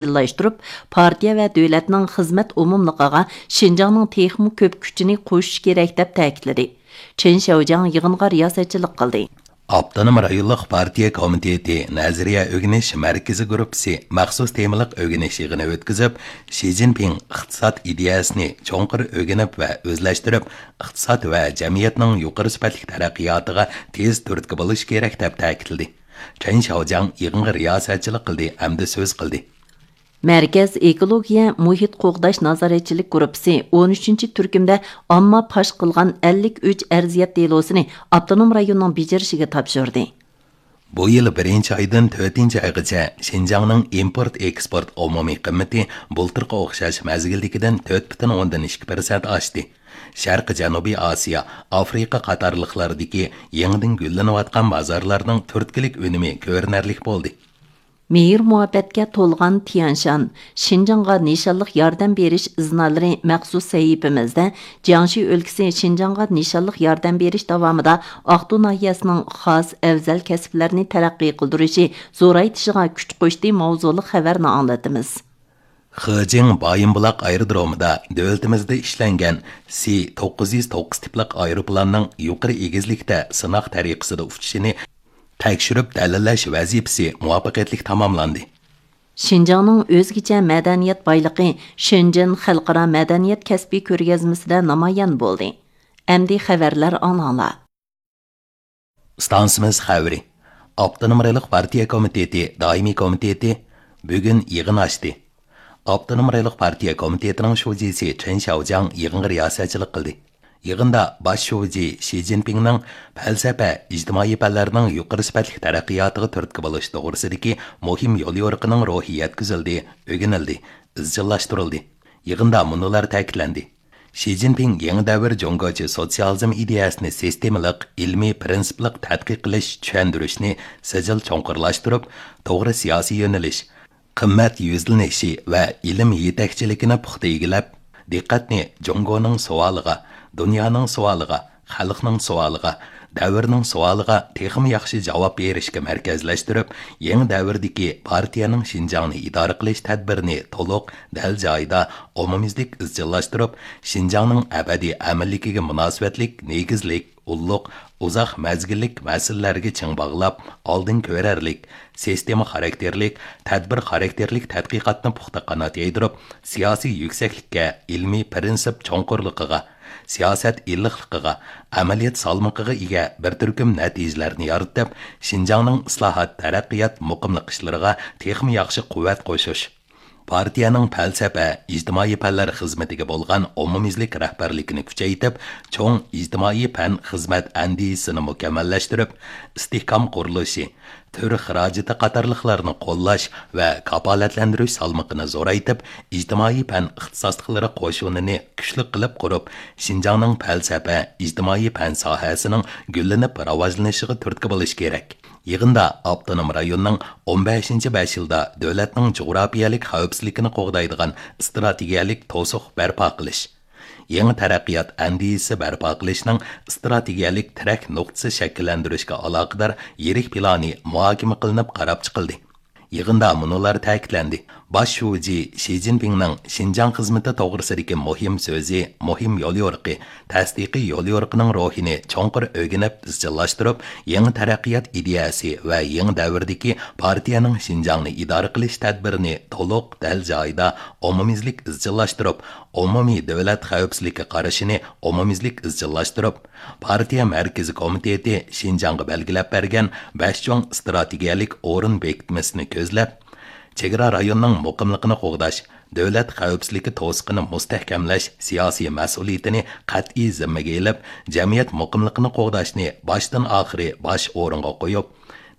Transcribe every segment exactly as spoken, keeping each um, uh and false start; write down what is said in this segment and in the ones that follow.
ئىزچىللاشتۇرۇپ، پارتىيە ۋە دۆلەتنىڭ خىزمەت ئومۇملۇقىغا شىنجاڭنىڭ تېخىمۇ كۆپ كۈچىنى قوشۇش كېرەك، دەپ تەكىتلىدى. چېن شياۋجياڭ يىغىنغا رىياسەتچىلىك قىلدى. ئاپتونوم رايونلۇق پارتىيە كومىتېتى نەزەرىيە ئۆگىنىش مەركىزى گۇرۇپپىسى مەخسۇس تېمىلىق ئۆگىنىش يىغىنى ئۆتكۈزۈپ، شى جىنپىڭ ئىقتىساد ئىدىيەسىنى چوڭقۇر ئۆگىنىپ ۋە ئۆزلەشتۈرۈپ، ئىقتىساد ۋە جەمئىيەتنىڭ يۇقىرى سۈپەتلىك تەرەققىياتىغا تېز تۈرتكە بولۇش كېرەك، دەپ تەكىتلىدى. چېن شياۋجياڭ يىغىنغا رىياسەتچىلىك قىلدى ھەمدە سۆز قىلدى. مەركەز ئېكولوگىيە مۇھىت قوغداش نازارەتچىلىك گۇرۇپپىسى ئون ئۈچىنچى تۈركۈمدە ئامما پاش قىلغان ئەللىك ئۈچ ئەرزىيەت دېلوسىنى ئاپتونوم رايوننىڭ بېجىرىشىگە تاپشۇردى. بۇ يىل بىرىنچى ئايدىن تۆتىنچى ئايغىچە شىنجاڭنىڭ ئىمپورت ئېكسپورت ئومۇمىي قىممىتى بۇلتۇرقى ئوخشاش مەزگىلدىكىدىن تۆت پۈتۈن ئوندىن ئىككى پىرسەنت ئاشتى. شەرقىي جەنۇبىي ئاسىيا، ئافرىقا قاتارلىقلاردىكى يېڭىدىن گۈللىنىۋاتقان بازارلارنىڭ تۈرتكىلىك ئۈنۈمى كۆرۈنەرلىك بولدى. مېھىر-مۇھەببەتكە تولغان تيەنشان، شىنجاڭغا نىشانلىق ياردەم بېرىش ئىزنالىرى مەخسۇس سەھىپىمىزدە جياڭشى ئۆلكىسى شىنجاڭغا نىشانلىق ياردەم بېرىش داۋامىدا ئاقتۇ ناھىيەسىنىڭ خاس ئەۋزەل كەسىپلەرنى تەرەققىي قىلدۇرۇشى، زورايتىشىغا كۈچ قوشتى ماۋزۇلۇق خەۋەرنى ئاڭلىتىمىز. خېجىڭ بايىنبۇلاق ئايرودرومىدا دۆلىتىمىزدە ئىشلەنگەن سى توققۇز يۈز توققۇز تىپلىق ئايروپىلاننىڭ يۇقىرى ئېگىزلىكتە سىناق تەرىقىسىدە ئۇچۇشىنى تەكشۈرۈپ دەلىللەش ۋەزىپىسى مۇۋەپپەقىيەتلىك تاماملاندى. شىنجاڭنىڭ ئۆزگىچە مەدەنىيەت بايلىقى شېنجېن خەلقئارا مەدەنىيەت كەسپىي كۆرگەزمىسىدە نامايان بولدى. ئەمدى خەۋەرلەر ئاڭلاڭلار. ئىستانسىمىز خەۋىرى. ئاپتونوم رايونلۇق پارتىيە كومىتېتى دائىمىي كومىتېتى بۈگۈن يىغىن ئاچتى. ئاپتونوم رايونلۇق پارتىيە كومىتېتىنىڭ شۇجىسى چېن شياۋجياڭ يىغىنغا رىياسەتچىلىك قىلدى. يىغىندا باش شۇجى شى جىنپىڭنىڭ پەلسەپە، ئىجتىمائىي پەنلەرنىڭ يۇقىرى سۈپەتلىك تەرەققىياتىغا تۈرتكە بولۇش توغرىسىدىكى مۇھىم يوليورۇقىنىڭ روھى يەتكۈزۈلدى، ئۆگىنىلدى، ئىزچىللاشتۇرۇلدى. يىغىندا مۇنۇلار تەكىتلەندى. شى جىنپىڭ يېڭى دەۋر جۇڭگوچە سوتسىيالىزم ئىدىيەسىنى سىستېمىلىق، ئىلمىي، پىرىنسىپلىق تەتقىق قىلىش، چۈشەندۈرۈشنى سىجىل چوڭقۇرلاشتۇرۇپ، توغرا سىياسىي يۆنىلىش، قىممەت يۈزلىنىشى ۋە ئىلىم يېتەكچىلىكىنى پۇختا ئىگىلەپ، دىققەتنى جۇڭگونىڭ سوئالىغا، دۇنيانىڭ سوئالىغا، خەلقنىڭ سوئالىغا، دەۋرنىڭ سوئالىغا تېخىمۇ ياخشى جاۋاب بېرىشكە مەركەزلەشتۈرۈپ، يېڭى دەۋردىكى پارتىيەنىڭ شىنجاڭنى ئىدارە قىلىش تەدبىرىنى تولۇق، دەل جايىدا، ئومۇميۈزلۈك ئىزچىللاشتۇرۇپ، شىنجاڭنىڭ ئەبەدىي ئەمىنلىكىگە مۇناسىۋەتلىك نېگىزلىك، ئۇللۇق، ئۇزاق مەزگىللىك مەسىلىلەرگە چىڭ باغلاپ، ئالدىن كۆرەرلىك، سىستېما خاراكتېرلىك، تەدبىر خاراكتېرلىك تەتقىقاتنى پۇختا قانات يايدۇرۇپ، سىياسىي يۈكسەكلىككە، ئىلمىي پىرىنسىپ چوڭقۇرلۇقىغا، سىياسەت ئىللىقلىقىغا، ئەمەلىيەت سالمىقىغا ئىگە بىر تۈركۈم نەتىجىلەرنى يارىتىپ، شىنجاڭنىڭ ئىسلاھات، تەرەققىيات، مۇقىملىق ئىشلىرىغا تېخىمۇ ياخشى قۇۋۋەت قوشۇش، پارتىيەنىڭ پەلسەپە، ئىجتىمائىي پەنلەر خىزمىتىگە بولغان ئومۇميۈزلۈك رەھبەرلىكىنى كۈچەيتىپ، چوڭ ئىجتىمائىي پەن خىزمەت ئەندىزىسىنى مۇكەممەللەشتۈرۈپ، ئىستىھكام قۇرۇلۇشى، تۈر خىراجىتى قاتارلىقلارنى قوللاش ۋە كاپالەتلەندۈرۈش سالمىقىنى زورايتىپ، ئىجتىمائىي پەن ئىختىساسلىقلىرى قوشۇنىنى كۈچلۈك قىلىپ قۇرۇپ، شىنجاڭنىڭ پەلسەپە، ئىجتىمائىي پەن ساھەسىنىڭ گۈللىنىپ راۋاجلىنىشىغا تۈرتكە بولۇش كېرەك. يىغىندا ئاپتونوم رايوننىڭ ئون بەشىنچى بەش يىلدا دۆلەتنىڭ جۇغراپىيەلىك خەۋپسىزلىكىنى قوغدايدىغان ئىستراتېگىيەلىك توسۇق بەرپا قىلىش، يېڭى تەرەققىيات ئەندىزىسى بەرپا قىلىشنىڭ ئىستراتېگىيەلىك تىرەك نۇقتىسى شەكىللەندۈرۈشكە ئالاقىدار يىرىك پىلانى مۇھاكىمە قىلىنىپ قاراپ چىقىلدى. يىغىندا مۇنۇلار تەكىتلەندى. باش شۇجى شى جىنپىڭنىڭ شىنجاڭ خىزمىتى توغرىسىدىكى مۇھىم سۆزى، مۇھىم يوليورۇقى، تەستىقىي يوليورۇقىنىڭ روھىنى چوڭقۇر ئۆگىنىپ ئىزچىللاشتۇرۇپ، يېڭى تەرەققىيات ئىدىيەسى ۋە يېڭى دەۋردىكى پارتىيەنىڭ شىنجاڭنى ئىدارە قىلىش تەدبىرىنى تولۇق، دەل جايىدا، ئومۇميۈزلۈك ئىزچىللاشتۇرۇپ، ئومۇمىي دۆلەت خەۋپسىزلىككە قارىشىنى ئومۇميۈزلۈك ئىزچىللاشتۇرۇپ، پارتىيە مەركىزىي كومىتېتى شىنجاڭغا بەلگىلەپ بەرگەن بەش چوڭ ئىستراتېگىيەلىك ئورۇن بېكىتمىسىنى كۆزلەپ، چېگرا رايوننىڭ مۇقىملىقىنى قوغداش، دۆلەت خەۋپسىزلىكى توسۇقىنى مۇستەھكەملەش سىياسىي مەسئۇلىيىتىنى قەتئىي زىممىگە ئېلىپ، جەمئىيەت مۇقىملىقىنى قوغداشنى باشتىن ئاخىرى باش ئورۇنغا قويۇپ،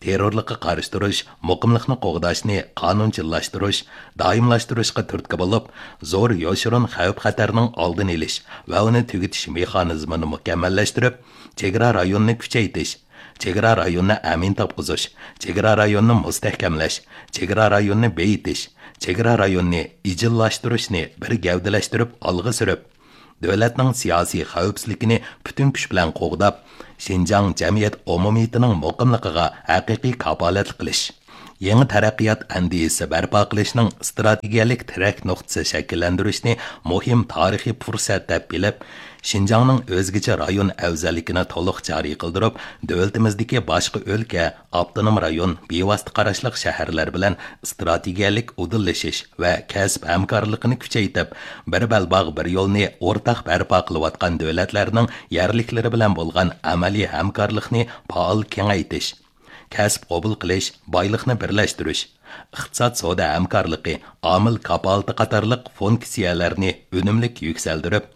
تېررورلۇققا قارشى تۇرۇش، مۇقىملىقنى قوغداشنى قانۇنچىللاشتۇرۇش، دائىملاشتۇرۇشقا تۈرتكە بولۇپ، زور يوشۇرۇن خەۋپ-خەتەرنىڭ ئالدىنى ئېلىش ۋە ئۇنى تۈگىتىش مېخانىزمىنى مۇكەممەللەشتۈرۈپ، چېگرا رايونىنى كۈچەيتىش، چېگرا رايونىنى ئەمىن تاپقۇزۇش، چېگرا رايونىنى مۇستەھكەملەش، چېگرا رايونىنى بېيىتىش، چېگرا رايونىنى ئىجىللاشتۇرۇشنى بىر گەۋدىلەشتۈرۈپ ئالغا سۈرۈپ، دۆلەتنىڭ سىياسىي خەۋپسىزلىكىنى پۈتۈن كۈچ بىلەن قوغداپ، شىنجاڭ جەمئىيەت ئومۇمىيىتىنىڭ مۇقىملىقىغا ھەقىقىي كاپالەتلىك قىلىش، يېڭى تەرەققىيات ئەندىزىسى بەرپا قىلىشنىڭ ئىستراتېگىيەلىك تىرەك نۇقتىسى شەكىللەندۈرۈشنى مۇھىم تارىخىي پۇرسەت دەپ بىلىپ، شىنجاڭنىڭ ئۆزگىچە رايون ئەۋزەللىكىنى تولۇق جارى قىلدۇرۇپ، دۆلىتىمىزدىكى باشقا ئۆلكە، ئاپتونوم رايون، بىۋاسىتە قاراشلىق شەھەرلەر بىلەن ئىستراتېگىيەلىك ئۇدۇللىشىش ۋە كەسىپ ھەمكارلىقىنى كۈچەيتىپ، بىر بەلباغ، بىر يولنى ئورتاق بەرپا قىلىۋاتقان دۆلەتلەرنىڭ يەرلىكلىرى بىلەن بولغان ئەمەلىي ھەمكارلىقنى پائال كېڭەيتىش، كەسىپ قوبۇل قىلىش، بايلىقنى بىرلەشتۈرۈش، ئىقتىساد سودا ھەمكارلىقى، ئامىل كاپالىتى قاتارلىق فۇنكسىيەلەرنى ئۈنۈملۈك يۈكسەلدۈرۈپ،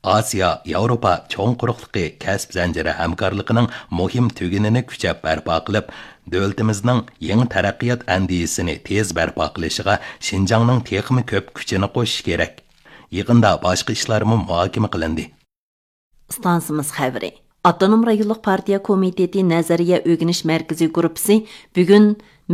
ئاسىيا، ياۋروپا چوڭ قۇرۇقلۇقى كەسىپ زەنجىرى ھەمكارلىقىنىڭ مۇھىم تۈگۈنىنى كۈچەپ بەرپا قىلىپ، دۆلىتىمىزنىڭ يېڭى تەرەققىيات ئەندىزىسىنى تېز بەرپا قىلىشىغا شىنجاڭنىڭ تېخىمۇ كۆپ كۈچىنى قوشۇشى كېرەك. يىغىندا باشقا ئىشلارمۇ مۇھاكىمە قىلىندى. ئىستانسىمىز خەۋىرى. ئاپتونوم رايونلۇق پارتىيە كومىتېتى نەزەرىيە ئۆگىنىش مەركىزىي گۇرۇپپىسى بۈگۈن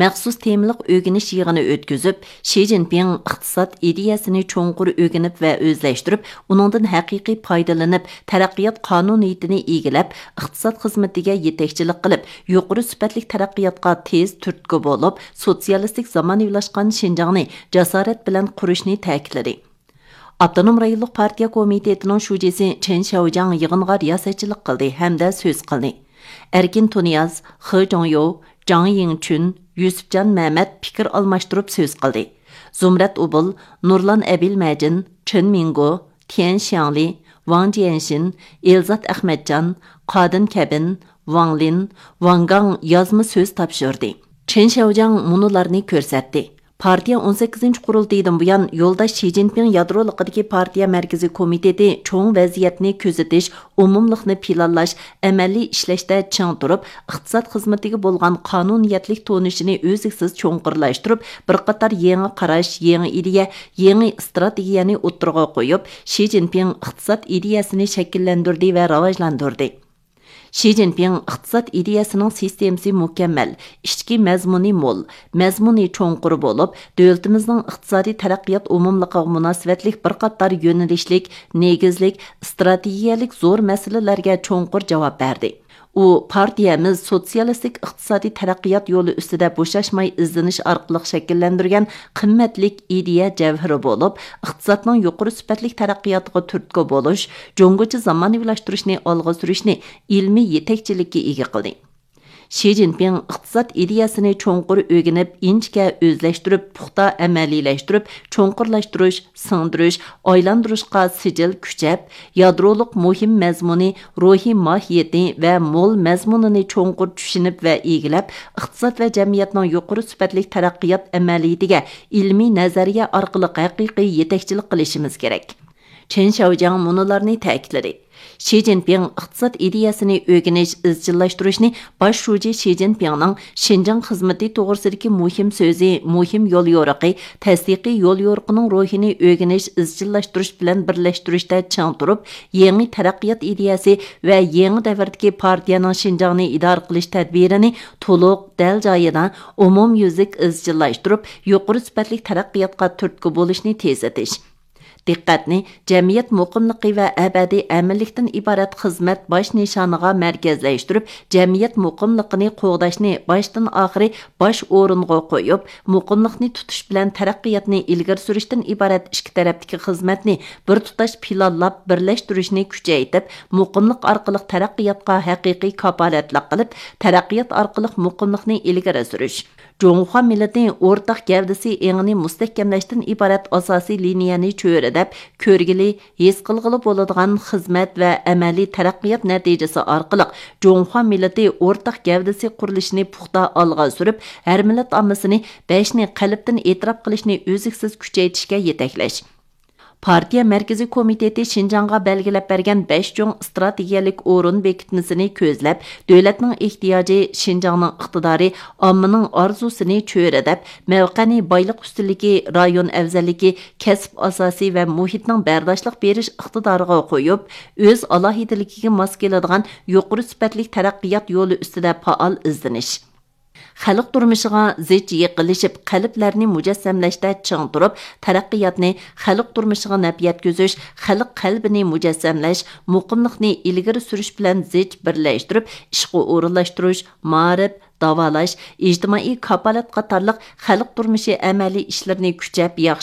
مەخسۇس تېمىلىق ئۆگىنىش يىغىنى ئۆتكۈزۈپ، شى جىنپىڭ ئىقتىساد ئىدىيەسىنى چوڭقۇر ئۆگىنىپ ۋە ئۆزلەشتۈرۈپ، ئۇنىڭدىن ھەقىقىي پايدىلىنىپ، تەرەققىيات قانۇنىيىتىنى ئىگىلەپ، ئىقتىساد خىزمىتىگە يېتەكچىلىك قىلىپ، يۇقىرى سۈپەتلىك تەرەققىياتقا تېز تۈرتكە بولۇپ، سوتسىيالىستىك زامانىۋىلاشقان شىنجاڭنى جاسارەت بىلەن قۇرۇشنى تەكىتلىدى. ئاپتونوم رايونلۇق پارتىيە كومىتېتىنىڭ شۇجىسى چېن شياۋجياڭ يىغىنغا رىياسەتچىلىك قىلدى ھەمدە سۆز قىلدى. ئەركىن تۇنىياز، خې جۇڭيو، جاڭ يىڭچۈن، يۈسۈپجان مەمەت پىكىر ئالماشتۇرۇپ سۆز قىلدى. زۇمرەت ئۇبۇل، نۇرلان ئەبىلمەجىن، چېن مىڭگو، تيەن شياڭلى، ۋاڭ جيەنشىن، ئېلزات ئەخمەتجان، قادىن كەبىن، ۋاڭ لىن، ۋاڭ گاڭ يازما سۆز تاپشۇردى. چېن شياۋجياڭ مۇنۇلارنى كۆرسەتتى. پارتىيە ئون سەككىزىنچى قۇرۇلتىيىدىن بۇيان يولداش شى جىنپىڭ يادرولۇقىدىكى پارتىيە مەركىزىي كومىتېتى چوڭ ۋەزىيەتنى كۆزىتىش، ئومۇملۇقنى پىلانلاش، ئەمەلىي ئىشلەشتە چىڭ تۇرۇپ، ئىقتىساد خىزمىتىگە بولغان قانۇنىيەتلىك تونۇشىنى ئۈزلۈكسىز چوڭقۇرلاشتۇرۇپ، بىر قاتار يېڭى قاراش، يېڭى ئىدىيە، يېڭى ئىستراتېگىيەنى ئوتتۇرىغا قويۇپ، شى جىنپىڭ ئىقتىساد ئىدىيەسىنى شەكىللەندۈردى ۋە راۋاجلاندۇردى. شى جىنپىڭ ئىقتىساد ئىدىيەسىنىڭ سىستېمىسى مۇكەممەل، ئىچكى مەزمۇنى مول، مەزمۇنى چوڭقۇر بولۇپ، دۆلىتىمىزنىڭ ئىقتىسادىي تەرەققىيات ئومۇملۇقىغا مۇناسىۋەتلىك بىر قاتار يۆنىلىشلىك، نېگىزلىك، ئىستراتېگىيەلىك زور مەسىلىلەرگە چوڭقۇر جاۋاب بەردى. ئۇ، پارتىيەمىز سوتسىيالىستىك ئىقتىسادىي تەرەققىيات يولى ئۈستىدە بوشاشماي ئىزدىنىش ئارقىلىق شەكىللەندۈرگەن قىممەتلىك ئىدىيە جەۋھىرى بولۇپ، ئىقتىسادنىڭ يۇقىرى سۈپەتلىك تەرەققىياتىغا تۈرتكە بولۇش، جۇڭگوچە زامانىۋىلاشتۇرۇشنى ئالغا سۈرۈشنى ئىلمىي يېتەكچىلىككە ئىگە قىلدى. شى جىنپىڭ ئىقتىساد ئىدىيەسىنى چوڭقۇر ئۆگىنىپ، ئىنچىكە ئۆزلەشتۈرۈپ، پۇختا ئەمەلىيلەشتۈرۈپ، چوڭقۇرلاشتۇرۇش، سىڭدۈرۈش، ئايلاندۇرۇشقا سىجىل كۈچەپ، يادرولۇق مۇھىم مەزمۇنى، روھىي ماھىيىتى ۋە مول مەزمۇنىنى چوڭقۇر چۈشىنىپ ۋە ئىگىلەپ، ئىقتىساد ۋە جەمئىيەتنىڭ يۇقىرى سۈپەتلىك تەرەققىيات ئەمەلىيىتىگە ئىلمىي نەزەرىيە ئارقىلىق ھەقىقىي يېتەكچىلىك قىلىشىمىز كېرەك. چېن شياۋجياڭ مۇنۇلارنى تەكىتلىدى. شى جىنپىڭ ئىقتىساد ئىدىيەسىنى ئۆگىنىش، ئىزچىللاشتۇرۇشنى باش شۇجى شى جىنپىڭنىڭ شىنجاڭ خىزمىتى توغرىسىدىكى مۇھىم سۆزى، مۇھىم يوليورۇقى، تەستىقىي يوليورۇقىنىڭ روھىنى ئۆگىنىش، ئىزچىللاشتۇرۇش بىلەن بىرلەشتۈرۈشتە چىڭ تۇرۇپ، يېڭى تەرەققىيات ئىدىيەسى ۋە يېڭى دەۋردىكى پارتىيەنىڭ شىنجاڭنى ئىدارە قىلىش تەدبىرىنى تولۇق، دەل جايىدا، ئومۇميۈزلۈك ئىزچىللاشتۇرۇپ، يۇقىرى سۈپەتلىك تەرەققىياتقا تۈرتكە بولۇشنى تېزلىتىش. دىققەتنى جەمئىيەت مۇقىملىقى ۋە ئەبەدىي ئەمىنلىكتىن ئىبارەت خىزمەت باش نىشانىغا مەركەزلەشتۈرۈپ، جەمئىيەت مۇقىملىقىنى قوغداشنى باشتىن ئاخىرى باش ئورۇنغا قويۇپ، مۇقىملىقنى تۇتۇش بىلەن تەرەققىياتنى ئىلگىرى سۈرۈشتىن ئىبارەت ئىككى تەرەپتىكى خىزمەتنى بىر تۇتاش پىلانلاپ بىرلەشتۈرۈشنى كۈچەيتىپ، مۇقىملىق ئارقىلىق تەرەققىياتقا ھەقىقىي كاپالەتلىك قىلىپ، تەرەققىيات ئارقىلىق مۇقىملىقنى ئىلگىرى سۈرۈش. جۇڭخۇا مىللىتى ئورتاق گەۋدىسى ئېڭىنى مۇستەھكەملەشتىن ئىبارەت ئاساسىي لىنىيەنى چۆرىدەپ، كۆرگىلى، ھېس قىلغىلى بولىدىغان خىزمەت ۋە ئەمەلىي تەرەققىيات نەتىجىسى ئارقىلىق جۇڭخۇا مىللىتى ئورتاق گەۋدىسى قۇرۇلۇشىنى پۇختا ئالغا سۈرۈپ، ھەر مىللەت ئاممىسىنى بەشنى قەلبتىن ئېتىراپ قىلىشنى ئۈزلۈكسىز كۈچەيتىشكە يېتەكلەش. پارتىيە مەركىزىي كومىتېتى شىنجاڭغا بەلگىلەپ بەرگەن بەش چوڭ ئىستراتېگىيەلىك ئورۇن بېكىتمىسىنى كۆزلەپ، دۆلەتنىڭ ئېھتىياجى، شىنجاڭنىڭ ئىقتىدارى، ئاممىنىڭ ئارزۇسىنى چۆرىدەپ، مەۋقەنى بايلىق ئۈستۈنلۈكى، رايون ئەۋزەللىكى، كەسىپ ئاساسى ۋە مۇھىتنىڭ بەرداشلىق بېرىش ئىقتىدارىغا قويۇپ، ئۆز ئالاھىدىلىكىگە ماس كېلىدىغان يۇقىرى سۈپەتلىك تەرەققىيات يولى ئۈستىدە پائال ئىزدىنىش. خەلق تۇرمۇشىغا زىچ يېقىنلىشىپ، قەلبلەرنى مۇجەسسەملەشتە چىڭ تۇرۇپ، تەرەققىياتنى خەلق تۇرمۇشىغا نەپ يەتكۈزۈش، خەلق قەلبىنى مۇجەسسەملەش، مۇقىملىقنى ئىلگىرى سۈرۈش بىلەن زىچ بىرلەشتۈرۈپ ئىشقا ئورۇنلاشتۇرۇش، مائارىپ، داۋالاش، ئىجتىمائىي كاپالەت قاتارلىق خەلق تۇرمۇشى ئەمەلىي ئىشلىرىنى كۈچەپ ياخشى